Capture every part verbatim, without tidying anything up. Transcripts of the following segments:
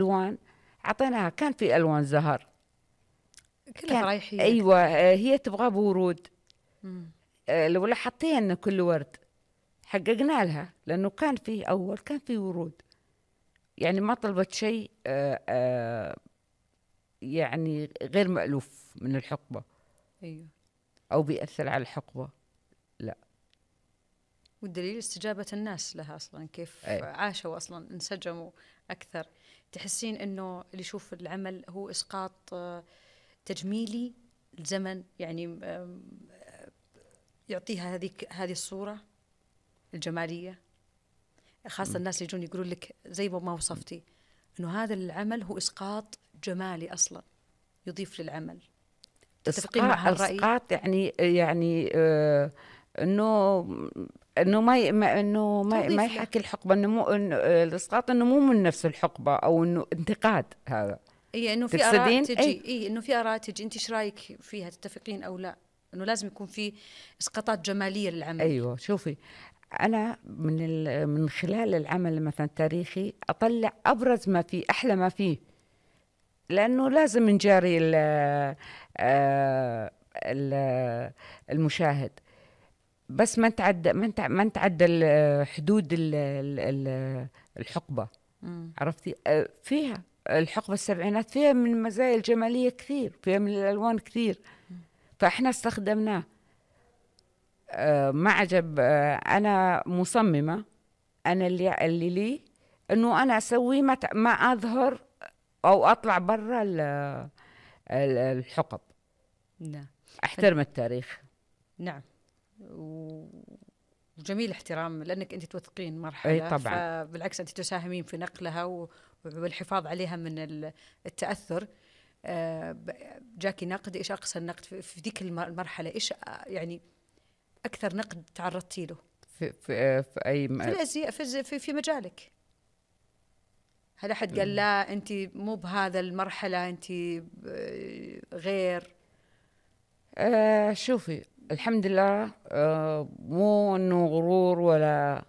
ألوان عطيناها، كان في ألوان زهر كلها كان فرايحية أيوة، أكثر. آه، هي تبغى بورود. مم. آه، لو لاحظتي كل ورد حققنا لها، لأنه كان في أول كان في ورود، يعني ما طلبت شيء آه، آه، يعني غير مألوف من الحقبة أيوة. أو بيأثر على الحقبة. لا. والدليل استجابة الناس لها أصلا، كيف أي. عاشوا أصلا، انسجموا أكثر. تحسين أنه اللي يشوف العمل هو إسقاط آه، تجميلي الزمن، يعني آم، يعطيها هذه هذه الصورة الجمالية، خاصة الناس اللي يجون يقولون لك زي ما وصفتي أنه هذا العمل هو إسقاط جمالي أصلا يضيف للعمل. تتفقين مع إسقاط هالرأي؟ إسقاط يعني يعني آه إنه إنه ما ي- ما- إنه ما ما توظيف له. يحكي الحقبة، إنه مو إنه آه، الإسقاط إنه مو من نفس الحقبة، أو إنه انتقاد هذا. اي انه في اراء تقصدين أي؟ تجي، اي انه في اراء تجي، انت ايش رايك فيها، تتفقين او لا؟ انه لازم يكون في اسقاطات جماليه للعمل. أيوة، شوفي، أنا من ال- من خلال العمل مثلا التاريخي أطلع أبرز ما فيه، أحلى ما فيه، لأنه لازم نجاري ال- آه، ال- المشاهد، بس ما نتعدى ما نتع- ما نتعدى ال- حدود ال- ال- ال- الحقبة. مم. عرفتي؟ آه، فيها الحقبة السبعينات فيها من المزايا الجمالية كثير، فيها من الألوان كثير، فإحنا استخدمناه. آه، ما عجب. آه، أنا مصممة، أنا اللي اللي لي إنه أنا أسوي ما ت- ما أظهر أو أطلع برا ال- ال- الحقب. نعم. أحترم التاريخ. نعم. و- وجميل احترام، لانك انت توثقين أي مرحله، طبعا. فبالعكس انت تساهمين في نقلها و- والحفاظ عليها من ال- التاثر. آه، ب- جاكي نقد، ايش اقصى النقد في في ذيك الم- المرحله؟ ايش آه، يعني اكثر نقد تعرضتي له في, في, في أي في م- الازياء، في الز- في في مجالك؟ هل أحد قال لا أنت مو بهذا المرحلة، أنت ب- غير؟ آه شوفي، الحمد لله، آه مو إنه غرور ولا،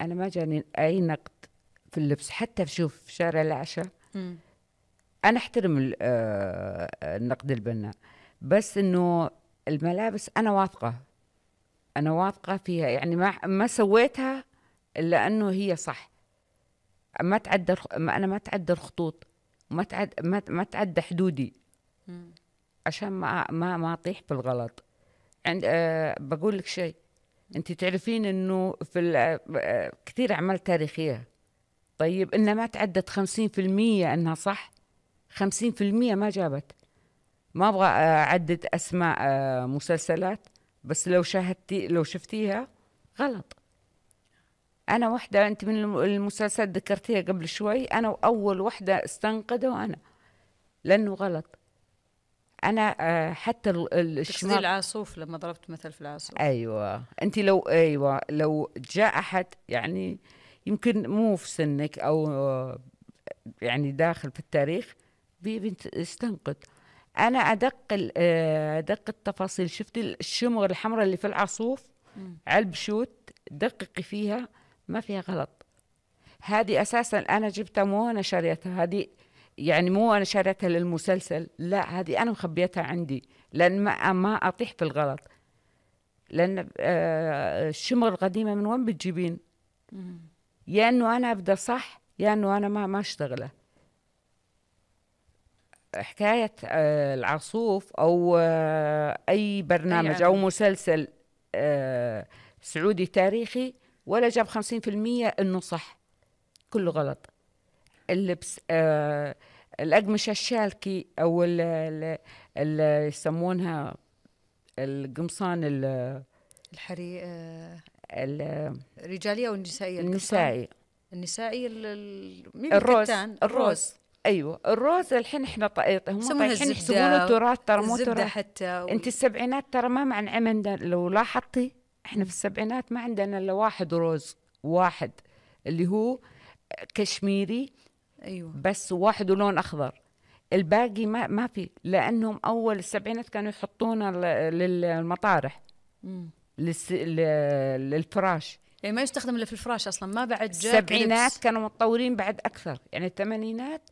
أنا ما جاني أي نقد في اللبس، حتى شوف في شارع العشاء مم. أنا أحترم ال- آه النقد البناء، بس إنه الملابس أنا واثقة، أنا واثقة فيها، يعني ما ما سويتها إلا أنه هي صح. ما تعدى الخ- ما أنا ما تعدى الخطوط، ما تعد ما ما تعدى حدودي، مم. عشان ما ما ما أطيح في الغلط. عند أه بقول لك شيء، أنت تعرفين إنه في ال- آه، كثير أعمال تاريخية، طيب إنها ما تعدت خمسين في المية إنها صح، خمسين في المية ما جابت. ما أبغى آه، أعدد أسماء آه، مسلسلات، بس لو شاهدتي لو شفتيها غلط. أنا واحدة، أنت من الم- المسلسلات ذكرتيها قبل شوي، أنا أول واحدة استنقده أنا، لأنه غلط. أنا آه، حتى ال- ال- تقصدي الشماغ. العاصوف لما ضربت مثل في العاصوف؟ أيوة، أنت لو أيوة لو جاء أحد يعني يمكن مو في سنك أو آه، يعني داخل في التاريخ، بيبي يستنقد. أنا أدق ال- آه، أدق التفاصيل. شفتي الشمغ الحمراء اللي في العاصوف مم. على البشوت، دققي فيها، ما فيها غلط. هذه أساسا أنا جبتها، مو أنا شريتها هذه، يعني مو أنا شريتها للمسلسل، لا، هذه أنا مخبيتها عندي، لأن ما ما أطيح في الغلط. لأن آه، الشمغ القديمة من وين بتجيبين؟ مم. يا إنه أنا أبدأ صح، يا إنه أنا ما ما أشتغله. حكاية آه، العاصوف أو آه، أي أي برنامج أو عمل. مسلسل آه، سعودي تاريخي، ولا جاب خمسين في المية إنه صح، كله غلط. اللبس، آه الأقمشة الشالكي أو ال- ال- ال- يسمونها القمصان ال- الحري آه، ال- الرجالية أو النسائية؟ القمصان النسائي، النسائي، ال- ال- مي الروز، بالكتان، الروز. الروز. أيوة، الروز الحين إحنا طا- هم يسمونها طايحين يحسبوا له الزبدة، تراث، ترى مو الزبدة تراث. حتى أنت وال... السبعينات ترى ما مع عندنا، لو لاحظتي إحنا في مم. السبعينات ما عندنا إلا واحد روز، واحد اللي هو كشميري أيوة. بس، واحد ولون أخضر، الباقي ما ما في، لأنهم أول السبعينات كانوا يحطونه ل- للمطارح، مم. للس... ل- للفراش. يعني ما يستخدم إلا في الفراش أصلا، ما بعد جاك السبعينات لبس. كانوا متطورين بعد أكثر، يعني الثمانينات